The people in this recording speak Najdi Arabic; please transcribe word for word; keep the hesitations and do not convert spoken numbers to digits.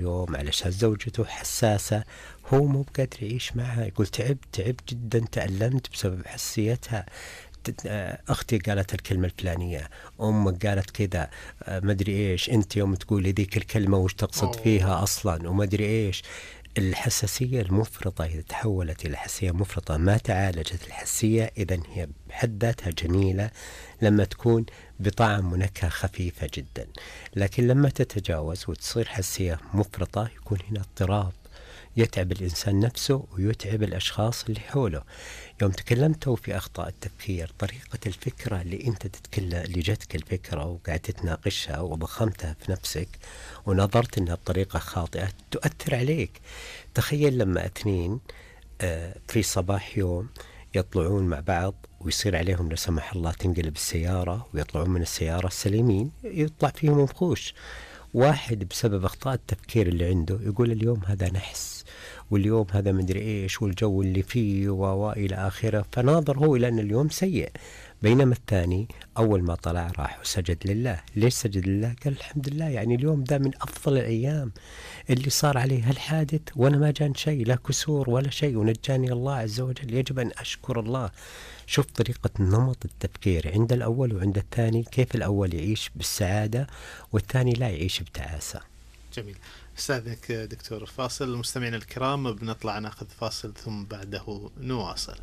يوم علشان زوجته حساسة، هو مو بقادر يعيش معها، يقول تعبت تعبت جدا، تألمت بسبب حساسيتها. تت- آه، أختي قالت الكلمة الفلانية، أمك قالت كذا، آه، مدري إيش، أنت يوم تقولي ذيك الكلمة وش تقصد أوه. فيها أصلا ومدري إيش. الحساسية المفرطة إذا تحولت إلى حساسية مفرطة ما تعالجت الحساسية، إذن هي بحد ذاتها جميلة لما تكون بطعم ونكهة خفيفة جدا، لكن لما تتجاوز وتصير حساسية مفرطة يكون هنا اضطراب يتعب الإنسان نفسه ويتعب الأشخاص اللي حوله. يوم تكلمتوا في أخطاء التفكير، طريقة الفكرة اللي أنت تتكلم، اللي جتك الفكرة وقعدت تناقشها وضخمتها في نفسك ونظرت أنها بطريقة خاطئة تؤثر عليك. تخيل لما اثنين آه، في صباح يوم يطلعون مع بعض ويصير عليهم لا سمح الله تنقلب السيارة ويطلعون من السيارة سليمين، يطلع فيهم وحوش. واحد بسبب أخطاء التفكير اللي عنده يقول اليوم هذا نحس، واليوم هذا مدري إيش، والجو اللي فيه وإلى آخره، فناظر هو إلى أن اليوم سيء. بينما الثاني أول ما طلع راح وسجد لله. ليش سجد لله؟ قال الحمد لله، يعني اليوم ده من أفضل الأيام، اللي صار عليه هالحادث وأنا ما جان شيء، لا كسور ولا شيء، ونجاني الله عز وجل، يجب أن أشكر الله. شوف طريقة نمط التفكير عند الأول وعند الثاني، كيف الأول يعيش بالسعادة والثاني لا يعيش بتعاسة. جميل. أستاذك دكتور. فاصل. المستمعين الكرام بنطلع ناخذ فاصل ثم بعده نواصل.